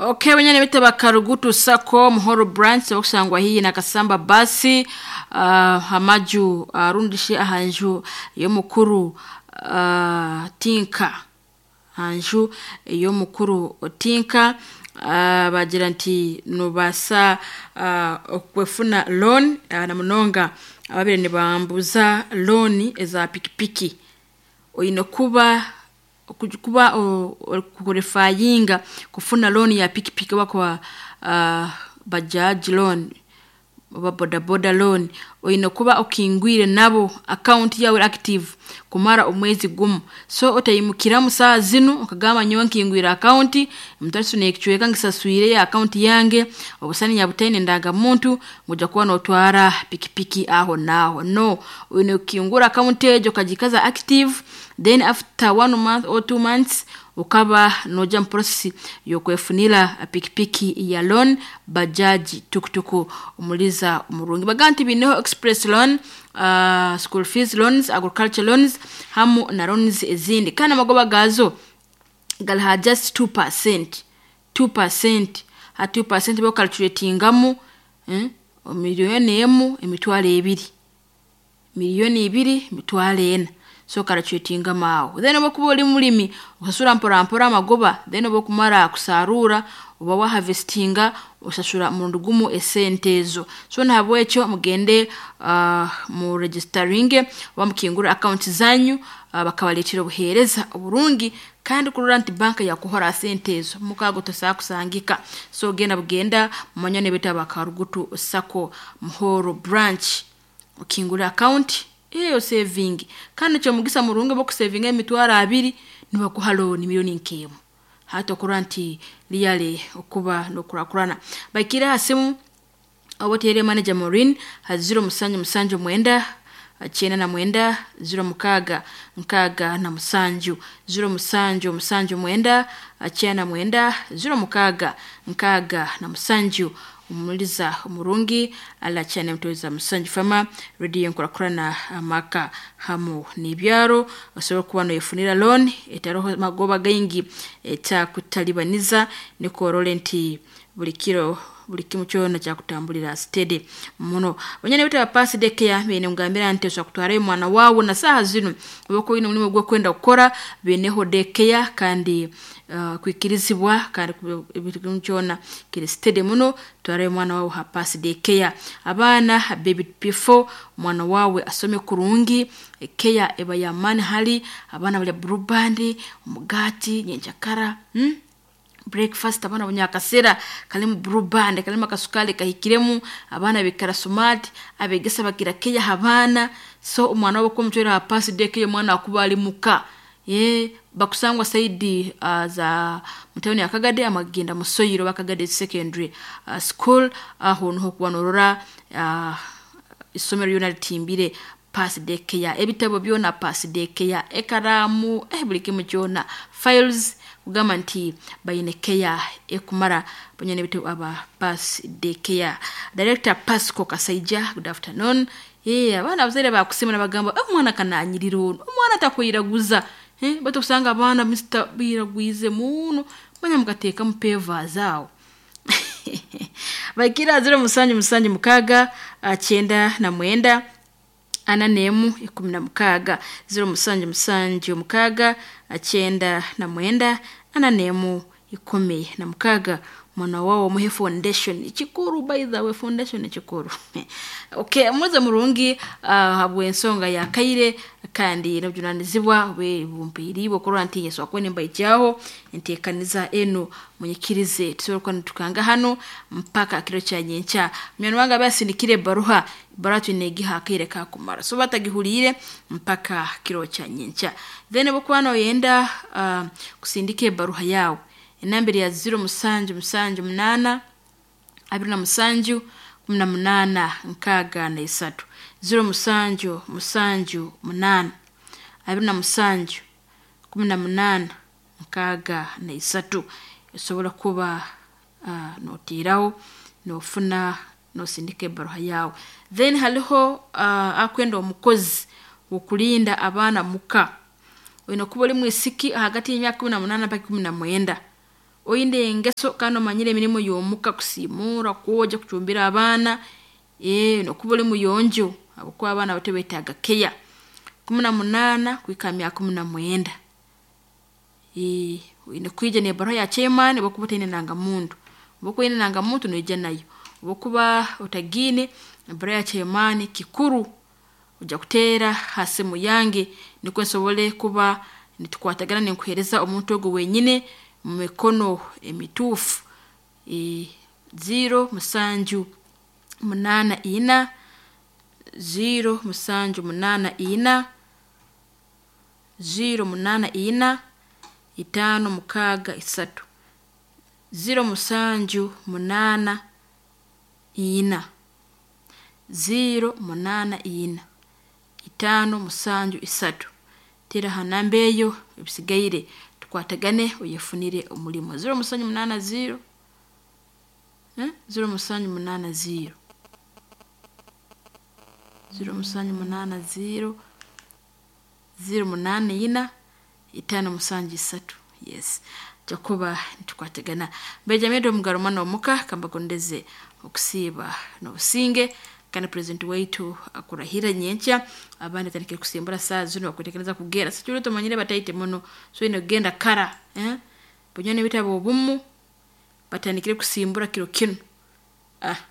Okay, wenyene bete bakarugutu sako Muhoro branch okusangwa hii na Kasamba basi hamaju rundishe ahanju yomukuru Tinka hanju yomukuru Tinka bagira nti nobasa okwefuna loan na munonga ababire nibambuza loan eza pikipiki oyine kuba kuba kuqualifyinga kufuna loan ya pikipiki oba kwa bajaji loan oba bodaboda loan oyine kuba okingwire nabo account yawe active kumara omwezi gumu. So otayimukiramu saaha zinu okagamba nyowe nkingwire account mutarisu nekicweka ngisaswire ya account yange obusani nyabutaine ndangamuntu ngoja kuba notwara pikipiki aho naaho. No, oyine kukingura account egyo okagikaza active, then after 1 month or 2 months ukaba noja mu process yokwefunira pikipiki ya loan, bajaji, tukutuku omuliza omurungi. Baga nti bineho express loan, school fees loans, agriculture loans hamu na loans ezindi kandi amagoba gazo galiha just 2%, 2% ha 2% bocalculatingamu miliyoni emu emitwaro ebiri, miliyoni ibiri emitwaro ena, so calculatingamu aho. Then obu okuba ori mulimi osasura mpora mpora amagoba, then obu okumara kusarura oba waharvestinga osasura murundi gumu esente ezo. So nahabwekyo mugende mu registeringe oba mukingure account zanyu bakabareetera obuheereza oburungi kandi kurora nti banka yakuhora sente ezo mukago tosobola kusangika. So genda bugenda mumanyane bete bakarugutu sako Muhoro branch okingure account eyo saving kandi kyomugisa murungi bokusevinga emitwaro abiri nibakuha loan miliyoni nk'emu. Hati okurora nti really okuba nokurakurana. Baikire ha simu oba oteere manager Maureen ha 0779 99 06 67 0779 99 06 67 omuliza omurungi alachane mutoweza musanju fama radio nkurakurana amaka hamu n'ibyaro osobola kuba noyefunira loan etaroho magoba gaingi etakutalibaniza niko orole nti buli kiro buli kimu kyona kyakutambulira steady muno. Banyana bete bapasi daycare bene ngambira nti osobola kutwarayo omwana wawe na saaha zinu oba oyine omulimu ogwokwenda kukora bineho daycare kandi kwikirizibwa kandi buli kimu kyona kiri steady muno twarayo omwana wawe ha pasi daycare. Abaana baby P4 omwana wawe asome kurungi, care eba y'amaani hali abaana balya blue band, omugati nyenkyakara breakfast abaana bunyakasera kalimu blue band kalimu akasukari kahikiremu abaana baikara smart abegesa bagira care ha baana. So omwana wawe obu ha pasi daycare omwana akuba ali muka bakusangwa side za mutawuni ya Kagadi amagenda Musoyiro oba Kagadi secondary school aho niho okuba norora isomero lyona litimbire pasi daycare, ebitabo byona pasi daycare, ekaraamu buli kimu kyona files kugamba nti baine care ekumara banyana bitu aba pasi daycare. Director Pasco Kasaija, good afternoon. Abaana abazaire bakusima nibagamba omwana kananyirira onu omwana takwiraguza baitu okusanga abaana Mr biragwize muno manya mukateekamu pavers aho. Baikira 0776 99 41 16 0776 99 41 16 mwana wawe omuhe foundation kikuru, by the way foundation kikuru. Okay, muze murungi habw'ensonga ya kaire kandi n'obujunanizibwa bumpiiriibwe okurora nti nsobola kuba nimbaijaaho enteekaniza enu munyikirize tusobole kuba nitukanga hanu mpaka kiro kya nyenkya. Munywani wange abe asindikire ebaruha, ebaruha twine egiha akaire kakumara so batagihuliire mpaka kiro kya nyenkya. Then obu okuba noyenda kusindika ebaruha yawe enamba eri ya 0778 27 18 63 0778 27 18 63 osobola kuba notiiraho nofuna nosindika ebaruha yawe. Then haliho akwenda omukozi w'okulinda abaana muka oyine kuba ori mwisiki ahagati y'emyaka 18 mpaka 19. Oine engeso kandi omanyire emirimu y'omuka, kusiimuura, kwogya, kucumbira abaana, nokuba oli muyonjo habwokuba abaana abato beetaaga care. 18 kuhika ha myaka 19, oine kwija n'ebaruha ya chairman obu okuba otaine ndangamuntu, obu okuba oine endangamuntu noija nayo, obu okuba otagiine, ebaruha ya chairman kikuru, ojya kuteera ha simu yange nukwe nsobole kuba nitukwatagana ninkuheereza omuntu ogu wenyini mumikono emituufu, 0 7 8 4, 0 7 8 4, 0 8 4, 5 6 3, 0 7 8 4, 0 8 4, 5 7 3, teera ha namba eyo ebisigaire tukwatagane oyefunire omulimo, 0 7 8 0, 0 7 8 0, 0 7 8 0, 0 8 4, 5 7 3, yes, tujya kuba nitukwatagana. Benjamin Omugarumano omuka kambagondeze okusiiba n'obusinge, kandi president waitu akurahira nyenkya, abandi batandikire kusimbura saaha zinu bakwetegereza kugenda. Sikiro tumanyire bataite muno, so oine kugenda kara, banywani baitu ab'obumu batandikire kusimbura kiro kinu.